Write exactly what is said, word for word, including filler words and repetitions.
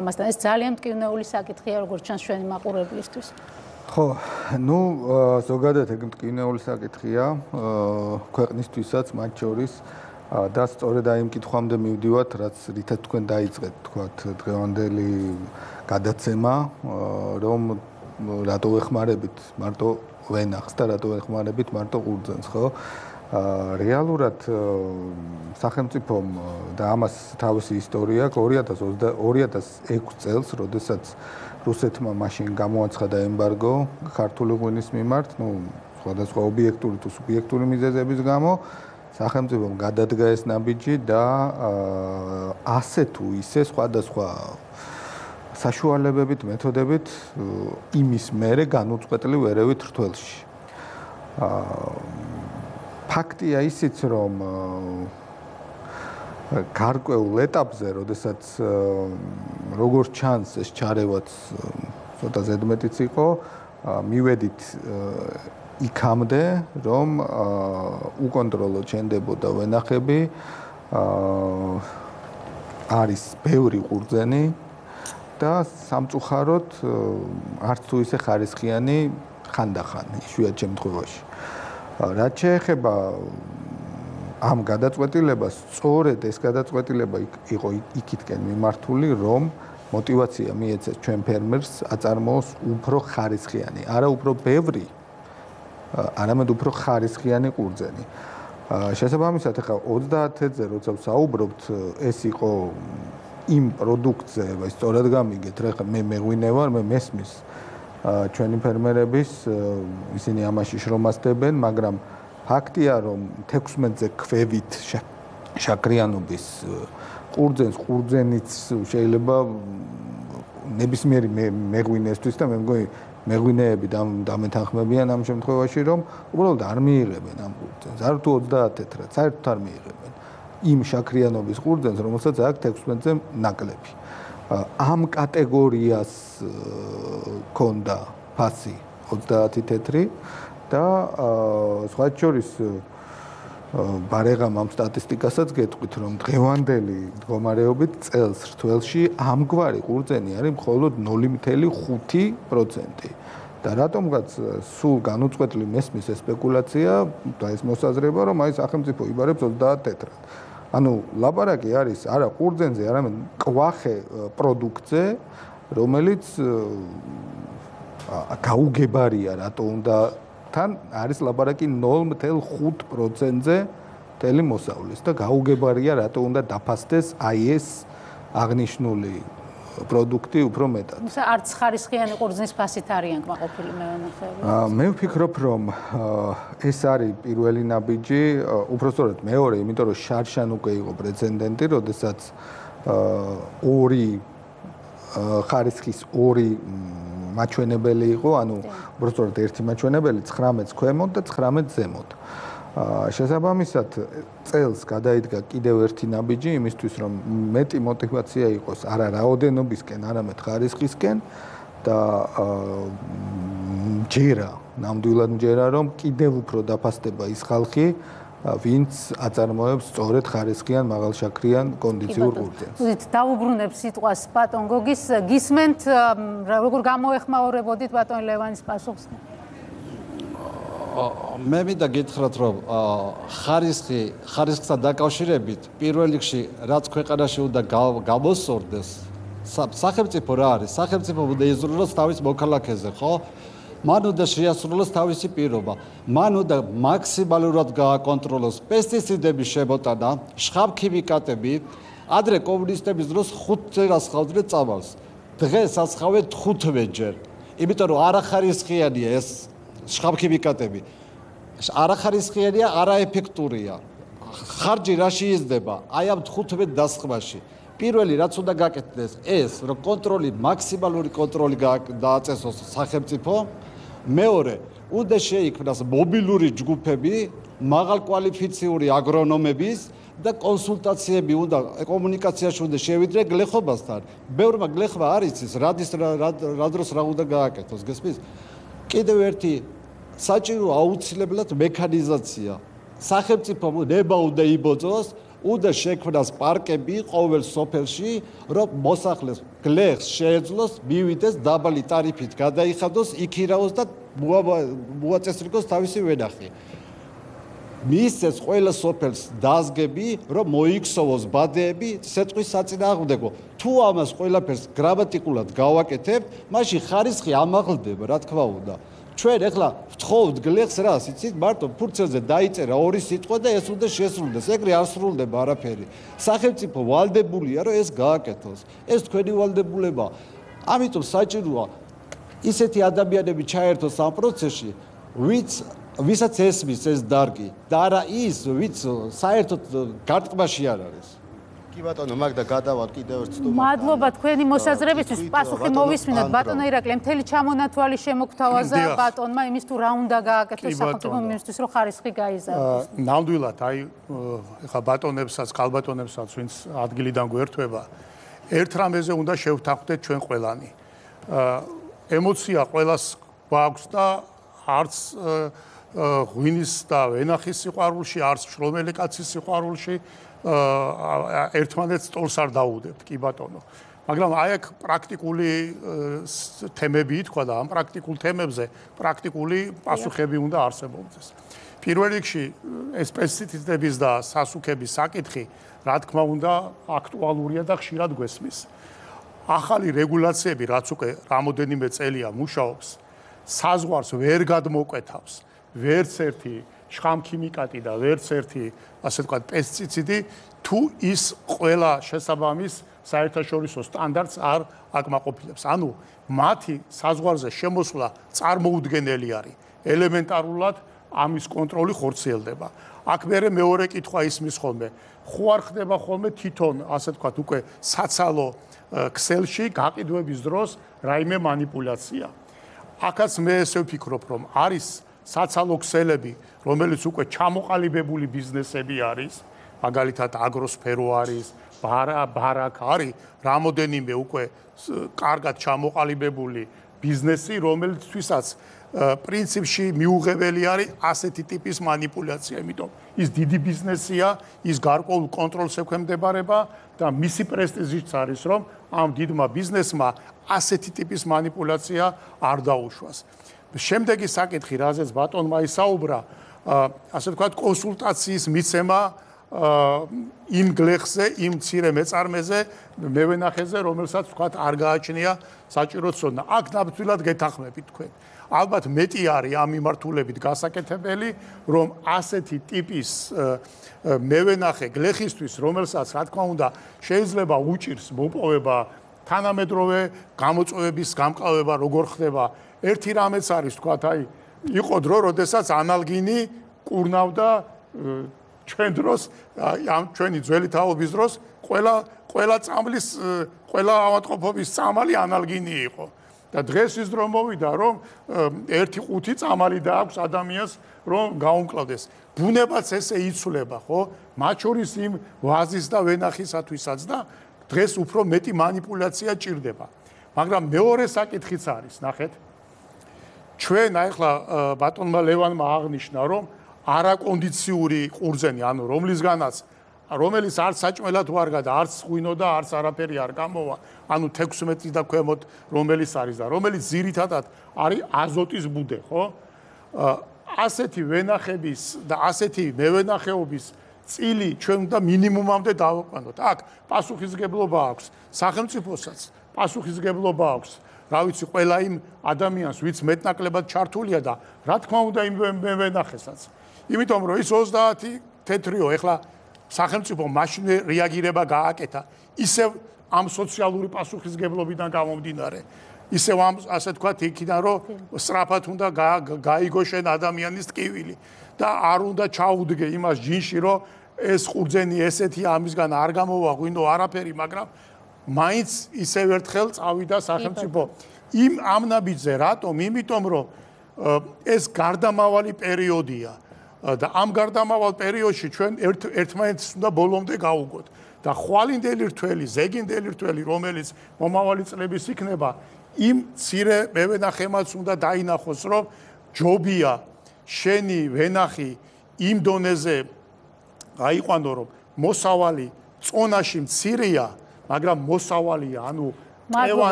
მასთან ეს ძალიან მტკივნეული საკითხია, როგორც ჩანს ჩვენი მაყურებლისთვის. ხო, ну, ზოგადად ეგ მტკივნეული საკითხია ქვეყნისთვისაც, მათ შორის და სწორედ აი იმ კითხვამდე მივდივართ, რაც რითაც თქვენ დაიწყეთ, თქვათ, დღევანდელი გადაცემა, რომ რატო ეხმარებით მარტო ვენახს და რატო ეხმარებით მარტო ყურძენს, ხო? რეალურად სახელმწიფომ და ამას თავისი ისტორია აქვს ორი ათას ექვსი წელს, როდესაც რუსეთმა მაშინ გამოაცხადა ემბარგო ქართული ღვინის მიმართ, ну, სხვადასხვა ობიექტური თუ სუბიექტური მიზეზების გამო, სახელმწიფომ გადადგა ეს ნაბიჯი და ასე თუ ისე სხვადასხვა საშუალებებით, მეთოდებით იმის მერე განუწყვეტლი ვერევით რთველში. ფაქტია ისიც, რომ გარკვეულ ეტაპზე, როდესაც როგორც ჩანს ეს ჩარევაც ცოტა ზედმეტიც იყო, მივედით იქამდე, რომ უკონტროლო ჩენდებოდა ვენახები, არის ბევრი ყურძენი და სამწუხაროდ არც თუ ისე ხარისხიანი ხანდახან, იშვიათ შემთხვევაში. რაც შეეხება ამ გადაწყვეტილებას, სწორედ ეს გადაწყვეტილება იყო იქითკენ მიმართული, რომ мотивация მიეცეს ჩვენ ფერმერს აწარმოოს უფრო ხარისხიანი, არა უფრო ბევრი, არამედ უფრო ხარისხიანი ყურძენი. შესაბამისად, ახლა ოცდაათზე როცა ვსაუბრობთ, ეს იყო იმ პროდუქტზე, აი სწორად გამიგეთ, რა მე მეღვინე ვარ, მე მესმის ჩვენი ფერმერების ისინი ამაში შრომასდებენ, მაგრამ ფაქტია, რომ თექვსმეტზე ქვევით შაქრიანობის ყურძენს, ყურძენიც შეიძლება ნებისმიერი მეღვინესთვის და მე მგონი მეღვინეები დამეთანხმებიან ამ შემთხვევაში, რომ უბრალოდ არ მიიღებენ ამ ყურძენს, არ თუ ოცდაათით, რაც საერთოდ არ მიიღებენ იმ შაქრიანობის ყურძენს, რომელსაც აქვს თექვსმეტზე ნაკლები. ამ კატეგორიას ქონდა ფასი ოცდაათი თეთრი და სხვა შორის ბარეგამ ამ სტატისტიკასაც გეტყვით, რომ დღევანდელი მდგომარეობით წელს რთველში ამგვარი ყურძენი არის მხოლოდ ნული მცდამეტი ხუთი პროცენტი. და რატომღაც სულ განუწყვეტლი მესმის სპეკულაცია და ეს მოსაზრება, რომ აი სახელმწიფო იბარებს ოცდაათ თეთრად. ანუ ლაპარაკი არის არა ყურძენზე, არამედ კვახე პროდუქტზე, რომელიც გაუგებარია, რატო უნდა თან არის ლაპარაკი ნული მცდამეტი ხუთი პროცენტზე მთელი მოსავლის და გაუგებარია, რატო უნდა დაფასდეს აი ეს აღნიშნული პროდუქტი უფრო მეტად. თუმცა არც ხარისხიანი ყურძნის ფასით არიან კმაყოფილი მევენახეები. მე ვფიქრობ, რომ ეს არის პირველი ნაბიჯი, უпростоრად მეორე, იმიტომ რომ შარშან უკვე იყო პრეცედენტი, როდესაც ორი ხარისხის ორი მაჩვენებელი იყო, ანუ უпростоრად ერთი მაჩვენებელი ცხრამეტს ქვემოთ და ცხრამეტს ზემოთ. შესაბამისად, წელს გადაიდგა კიდევ ერთი ნაბიჯი იმისთვის, რომ მეტი мотивация იყოს არა რაოდენობისკენ, არამედ ხარისხისკენ და ჯერა, ნამდვილად ჯერა, რომ კიდევ უფრო დაფასდება ის ხალხი, ვინც აწარმოებს სწორედ ხარისხიან მაღალშაქრიან კონდიციურ ყურძენს. უდით დაუბრუნებ სიტყვას ბატონ გოგის, გისმენთ, როგორ გამოეხმაურებოდით ბატონ ლევანის პასუხს? მე მინდა გითხრათ, რომ ხარისხი, ხარისხთან დაკავშირებით პირველ რიგში რაც ქვეყანაში უნდა გამოსწორდეს, სახელმწიფო რა არის? სახელმწიფო უნდა იზრუნოს თავის მოქალაქეზე, ხო? მან უნდა შეასრულოს თავისი პირობა, მან უნდა მაქსიმალურად გააკონტროლოს პესტიციდების შემოტანა, შხამქიმიკატები, ადრე კომუნისტების დროს ხუთზე ასხავდნენ წამალს. დღეს ასხავენ თხუთმეტჯერ. იმიტომ რომ არახარისხიანია ეს შხამქიმიკატები. არახარისხიანია, არაეფექტურია. ხარჯი რაში იზრდება? აი ამ თხუთმეტ დასხმაში. პირველი რაც უნდა გაკეთდეს ეს, რომ კონტროლი, მაქსიმალური კონტროლი დააწესოს სახელმწიფო. მეორე, უნდა შეიქმნას მობილური ჯგუფები, მაღალკვალიფიციური აგრონომების და კონსულტაციები უნდა კომუნიკაციაში უნდა შევიდნენ გლეხობასთან. ბევრმა გლეხმა არ იცის, რადის რა დროს რა უნდა გააკეთოს, გესმის? კიდევ ერთი საჭირო აუცილებლად მექანიზაცია. სახელმწიფო ნება უნდა იბოძოს უნდა შექმნას პარკები ყოველ სოფელში, რომ მოსახლეს გლეხს შეეძლოს მივიდეს დაბალი ტარიფით გადაიხადოს, იქირავოს და მოაწესრიგოს თავისი ვენახი. მისცეს ყველა სოფელს დაზგები, რომ მოიქსოვოს ბადეები სეტყვის საწინააღმდეგო. თუ ამას ყველაფერს გრამატიკულად გავაკეთებ, მაშინ ხარისხი ამაღლდება, რა თქმა უნდა. ჩვენ ეხლა ვთხოვთ გლეხს რას, იცით, მარტო ფურცელზე დაიწერა ორი სიტყვა და ეს უნდა შესრულდეს. ეგრე არ სრულდება არაფერი. სახელმწიფო ვალდებულია, რომ ეს გააკეთოს. ეს თქვენი ვალდებულება. ამიტომ საჭიროა ისეთი ადამიანები ჩაერთოს ამ პროცესში, ვინც ვისაც ესმის ეს დარგი და არა ის, ვინც საერთოდ გარტყმაში არ არის. კი ბატონო, მაგდა გადავალ კიდევ ერთ სტუმარს. მადლობა თქვენი მოსაზრებისთვის. პასუხი მოვისმინოთ. ბატონო ირაკლი, მთელი ჩამონათვალი შემოგთავაზა ბატონმა იმის თუ რა უნდა გააკეთოს სახელმწიფო მინისტრისთვის, რომ ხარისხი გაიზარდოს. ნამდვილად, აი ეხა ბატონებსაც, ქალბატონებსაც, ვინც ადგილიდან გვერდება, ერთ რამეზე უნდა შევთანხმდეთ ჩვენ ყველანი. ემოცია ყველას გვაქვს და არც ღვინის და ვენახის სიყვარულში, არც შრომელი კაცის სიყვარულში ერთმანეთს ტოლს არ დაუვდებთ, კი ბატონო. მაგრამ აი აქ პრაქტიკული თემები ითქვა და ამ პრაქტიკულ თემებზე პრაქტიკული პასუხები უნდა არსებობდეს. პირველ რიგში ეს პესტიციდების და სასუქების საკითხი, რა თქმა უნდა, აქტუალურია და ხშირად გვესმის. ახალი რეგულაციები, რაც უკვე რამოდენიმე წელია მუშაობს, საზღვარს ვერ გადმოკვეთავს ვერც ერთი შხამქიმიკატი და ვერც ერთი, ასე ვთქვათ, პესტიციდი, თუ ის ყველა შესაბამის საერთაშორისო სტანდარტს არ აკმაყოფილებს. ანუ მათი საზღვარზე შემოსვლა წარმოუდგენელი არის. ელემენტარულად ამის კონტროლი ხორციელდება. აქ მერე მეორე კითხვა ისმის ხოლმე, ხო არ ხდება ხოლმე თვითონ, ასე ვთქვათ, უკვე საცალო ქსელში გაყიდვების დროს რაიმე манипуляция. აქაც მე ესე ვფიქრობ, რომ არის საცალო ქსელები, რომელიც უკვე ჩამოყალიბებული ბიზნესები არის, მაგალითად აგროსფერო არის, ბარა ბარაკ არის, რამოდენიმე უკვე კარგად ჩამოყალიბებული ბიზნესი, რომელთვისაც პრინციპში მიუღებელი არის ასეთი ტიპის манипуляция, იმიტომ ის დიდი ბიზნესია, ის გარკვეულ კონტროლს ექვემდებარება და მისი პრესტიჟიც არის, რომ ამ დიდმა ბიზნესმა ასეთი ტიპის манипуляция არ დაუშვას. შემდეგი საკითხი, რაზეც ბატონმა ისაუბრა, ასე ვთქვათ, კონსულტაციის მიცემა იმ გლეხზე, იმ მცირე მეწარმეზე, მევენახეზე, რომელსაც ვთქვათ, არ გააჩნია საჭირო ცოდნა. აქ ნამდვილად გეთანხმებით თქვენ. ალბათ მეტი არის ამ მიმართულებით გასაკეთებელი, რომ ასეთი ტიპის მევენახე გლეხისთვის, რომელსაც, რა თქმა უნდა, შეიძლება უჭირს მოპოვება თანამედროვე გამოწვევების გამკლავება, როგორ ხდება. ერთი რამეც არის, ვთქვათ, აი, იყო დრო, როდესაც ანალგინი კურნავდა ჩვენ დროს, ამ ჩვენი ძველი თაობის დროს, ყველა ყველა წამლის, ყველა ავადმყოფობის წამალი ანალგინი იყო. და დღეს ის დრო მოვიდა, რომ ერთი ყუთი წამალი დააქვს ადამიანს, რომ გაუმკლავდეს. ბუნებაც ესე იცვლება, ხო? მათ შორის იმ ვაზის და ვენახისათვისაც და დღეს უფრო მეტი манипуляция ჭირდება. მაგრამ მეორე საკითხიც არის, ნახეთ. ჩვენ ახლა ბატონმა ლევანმა აღნიშნა, რომ არაკონდიციური ყურძენი, ანუ რომლისგანაც რომელიც არც საჭმელად ვარ გადა, არც ღვინო და არც არაფერი არ გამოვა, ანუ თექვსმეტი და ქვემოთ რომელიც არის და რომელიც ძირითადად არის აზოტის ბუდე, ხო? ასეთი ვენახების და ასეთი მევენახეობის წილი ჩვენ უნდა მინიმუმამდე დავაკვანოთ. აქ პასუხისგებლობა აქვს სახელმწიფოსაც, პასუხისგებლობა აქვს, რა ვიცი, ყველა იმ ადამიანს, ვინც მეტნაკლებად ჩართულია და რა თქმა უნდა იმ მევენახესაც. იმიტომ რომ ის ოცდაათი თეთრიო, ეხლა სახელმწიფო მაშინ რეაგირება გააკეთა, ისევ ამ სოციალური პასუხისგებლობიდან გამომდინარე, ისევ ამ, ასე თქვათ, იქიდან რომ სწრაფად უნდა გაიგო შენ ადამიანის ტკივილი და არ უნდა ჩაუდგე იმას ჯინში, რომ ეს ყურძენი ესეთი ამისგან არ გამოვა ღვინო არაფერი, მაგრამ მაინც ისევ ერთხელ წავიდა სახელმწიფო იმ ამ ნაბიჯზე, რატომ? იმიტომ რომ ეს გარდამავალი პერიოდია. და ამ გარდამავალ პერიოდში ჩვენ ერთმანეთს უნდა ბოლომდე გავუგოთ და ხვალინდელი რთველი, ზეგინდელი რთველი, რომელიც მომავალი წლების იქნება, იმ მცირე მევენახემაც უნდა დაინახოს, რომ ჯობია შენი ვენახი იმ დონეზე გაიყვანო, რომ მოსავალი წონაში მცირეა, მაგრამ მოსავალია, ანუ მადლობა.